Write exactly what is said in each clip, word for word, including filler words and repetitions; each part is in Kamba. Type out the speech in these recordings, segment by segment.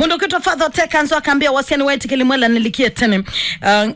Mũndũ ũkwĩtwa Father Otekanzo akambĩa, "Wasya nĩwaĩtĩkĩli mwela nĩlikie tene." Uh,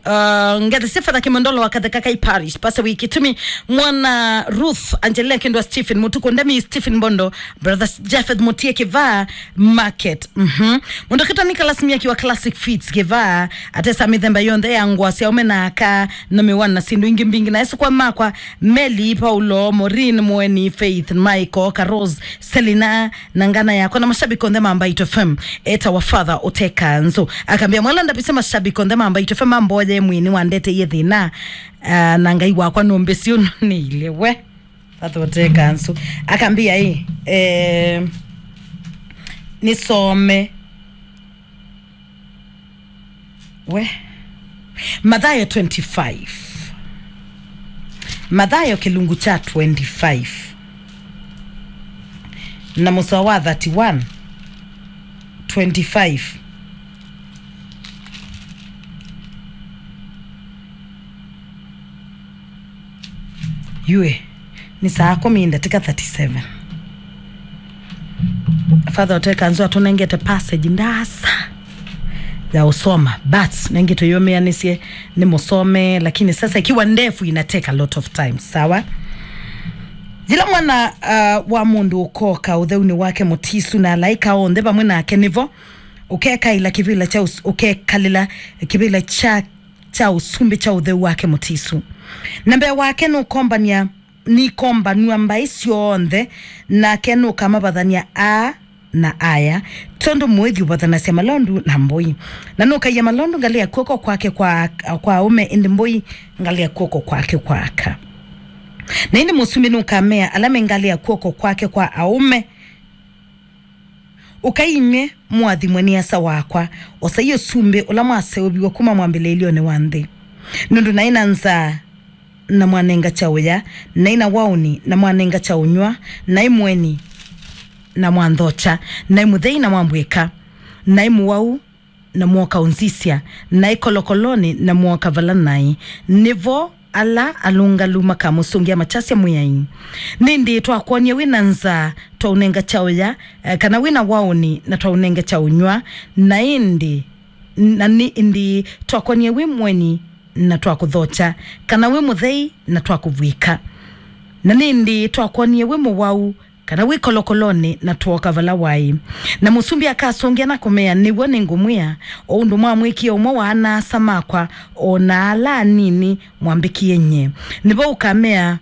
uh, ngethe sya Father Kimondolo wa Katheka Kai Parish, Pastor Wikitumi, mwana Ruth, Angelina Kendwa, Stephen Mutuku, Ndemi, Stephen Mbondo, Brother Japheth Mutie Kivaa Market. Mhm. Mũndũ ũkwĩtwa Nicholas Miaki wa Classic Fits Kivaa, atesa mĩthemba yonthe ya ngũa sya aũme na aka, na mĩwani na syĩndũ ingĩ mbingĩ. Na esũkwa makwa, Meli, Paulo, Maureen, Mweni, Faith, Michael, Karos, Selina, na ngana yakwa na mashabiki onthe ma Mbaitũ F M, etawa Father Otekanzo. Akambĩa, "Mwela ndavĩsye mashabiki onthe ma Mbaitũ F M mamboye mwĩĩ nĩwandetee thĩna, ah, na Ngai wakwa nũmbĩsĩ ũnũnĩile we." Father Otekanzo. Akambĩa, "Ĩ, eh, nĩsome." We. Mathayo twenty-five. Mathayo kĩlungu kya twenty-five. Na mũsoa wa thirty-one, twenty-five. Yue, nĩ saa kũmi ndatĩka thirty-seven. Father Otekanzo atũnengete passage ndasa ya ũsoma, but nengĩ tũyũmĩanĩsye nĩ mũsome, lakini sasa ikiwa ndefu ina take a lot of time, sawa? Yĩla mwana, uh, wa mũndũ ũkoka ũtheunĩ wake mũtisu na alaĩka onthe vamwe nake nĩvo ũkekaĩla kĩvĩla kya ũs-, ũkekalĩla kĩvĩla kya kya ũsumbĩ kya ũtheu wake mũtisu. Na mbee wake nũkombany'a, nĩikombanw'a mbaĩ syonthe, nake nũkamavathany'a aa na aya, tondũ mũĩthi ũvathanasya malondu na mbũi. Na nũkaia malondu ngalĩ ya kw'oko kwake kwa, kwa aũme, ĩndĩ mbũi ngalĩ ya kw'oko kwake kwa aka. Na ĩndĩ mũsumbĩ nũkamea ala me ngalĩ ya kw'oko kwake kwa aũme, Ũkai inyw'ĩ mũathimwe nĩ Asa wakwa, osai ũsumbĩ ũla mwaseũviw'e kuma mwambĩlĩĩlyonĩ wa nthĩ. Nũndũ naĩ na nzaa, na mwanenga kyaũya, naĩ na waũni, na mwanenga kyaũnyw'a, naĩ mũeni, na mwanthokya, naĩ mũthei, na mwambw'ĩka, naĩ mũwau, na mwooka ũnzisya, naĩ kolokolonĩ, na mwooka vala naĩ. Nĩvo ala alũngalu makamũsũngĩa makyasya, Mwĩai, nĩndĩ twakwonie wĩ na nzaa, twaũnenga kyaũya, eh, kana wĩ na waũni, na twaũnenga kyaũnyw'a? Na ĩndĩ, na nĩ ĩndĩ twakwonie wĩ mũeni, na twakũthokya, kana wĩ mũthei, na twakũvw'ĩka? Na nĩ ĩndĩ twakwonie wĩ mũwau, kana wĩ kolokolonĩ, na twooka vala waĩ? Na mũsumbĩ akasũngĩa na kũmea, Nĩw'o nĩngũmwĩa, o ũndũ mwamwĩkie ũmwe wa ana-a-asa makwa, o na ala anini, mwambĩkie nyie. Nĩvo ũkamea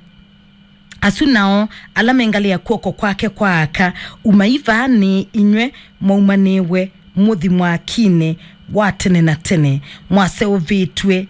asu nao ala mengalĩa kw'oko kwake kwa aka, Umai vaa nĩ inyw'ĩ mwaumanĩĩwe mũthi mwakinĩ wa tene na tene, mwaseũvĩtw'e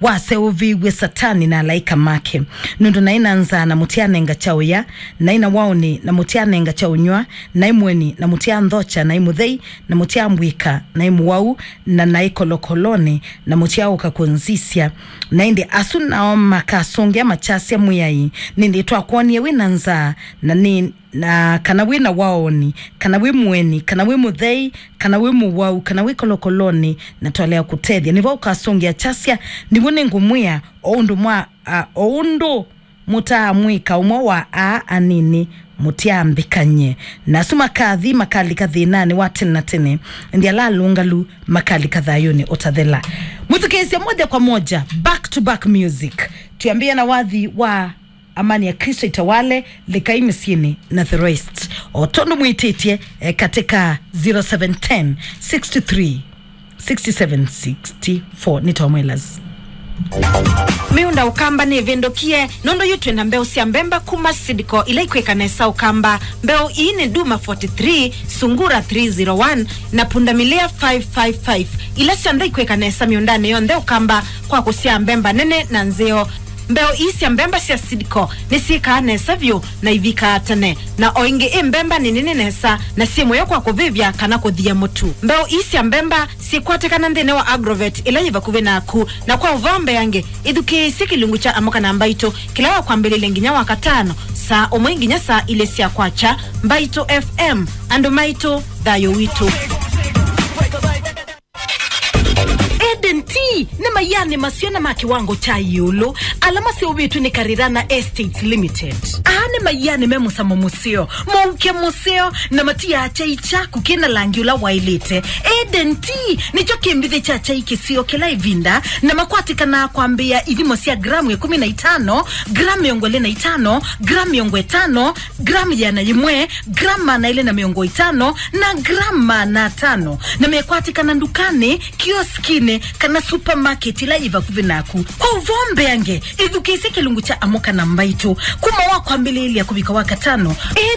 waseũvĩw'e Satani na alaĩka make. Nũndũ naĩ na nzaa, na mũtyanenga kyaũya, naĩ na waũni, na mũtyanenga kyaũnyw'a, naĩ mũeni, na mũtyanthokya, naĩ mũthei, na mũtyambw'ĩka, naĩ mũwau, na naĩ kolokolonĩ, na mũtyaũka kũnzisya. Na ĩndĩ asu nao makasũngĩa makyasya, Mwĩai, nĩndĩ twakwonie wĩ na nzaa, na nĩ na kana wĩ na waũni, kana wĩ mũeni, kana wĩ mũthei, kana wĩ mũwau, kana wĩ kolokolonĩ, na twalea kũtethya? Nĩvo ũkasũngĩa kyasya, Nĩw'o nĩngũmwĩa, o ũndũ mwa, a, o ũndũ mũtaamwĩka ũmwe wa aa anini, mũtyaambĩka nyie. Na asu makathi makalika thĩnanĩ wa tene na tene, ĩndĩ ala alũngalu makalika thayũnĩ ũtathela. Mwĩthukĩĩsye moja kwa moja, back to back music. Twĩambĩĩa na wathi wa Amani ya Kristo itawale, lekai mĩsyĩnĩ na the rest. O tondũ mwĩtĩtye, eh, katika zero seven ten, six two three, six seven six four. Nĩ Tom Elas. Mĩũnda Ũkamba nĩvĩndũkie, nũndũ yu twĩ na mbeũ sya mbemba kuma Seedco ila ikwĩka nesa Ũkamba. Mbeũ ii nĩ Duma forty-three, Sungura three zero one, na Pundamilia five five five, ila syonthe ikwĩka nesa mĩũndanĩ yonthe Ũkamba kwa kũsyaa mbemba nene na nzeo. Mbeũ ii sya mbemba sya Seedco nĩsyĩkaa nesa vyũ na ivikaa tene, na o ĩngĩ ĩ mbemba nĩ nene nesa na syĩ mũyo kwa kũvĩvya kana kũthia mũtu. Mbeũ ii sya mbemba syĩkwatĩkana nthĩnĩ wa Agrovet ĩla yĩ vakuvĩ naku, na kwa ũvoo mbeange, ĩthukĩĩsye kĩlungu kya Amũka na Mbaitũ kĩla wakwambĩlĩlye nginya Wakatano saa ũmwe nginya saa ilĩ sya kwakya. Mbaitũ F M, andũ maitũ, thayũ witũ. Eden Tea nĩ maianĩ maseo na ma kĩwango kya ĩũlũ. ala maseũvĩtw'e nĩ Karirana Estates Limited. Aa nĩ maiani me mũsamo mũseo, mũuke mũseo, na matiaa kyai kyaku kĩ na langi ũla waĩlĩte. Eden Tea nĩkyo kĩmbithĩ kya kyai kĩseo kĩla ĩvinda, na makwatĩkanaa kwambĩĩa ithimo sya gramu ĩkũmi na itano, gramu mĩongo ĩlĩ na itano, gramu mĩongo ĩtano, gramu ĩana yĩmwe, gramu maana elĩ na mĩongo ĩtano, na gramu maana atano, na mekwatĩkana ndukanĩ, kioskinĩ, kana supermarket ĩla yĩ vakuvĩ naku. Kwa ũvoo mbeange, ĩthukĩĩsye kĩlungu kya Amũka na Mbaitũ kuma wa kwambĩlĩĩlya kũvika wa katano. Ĩ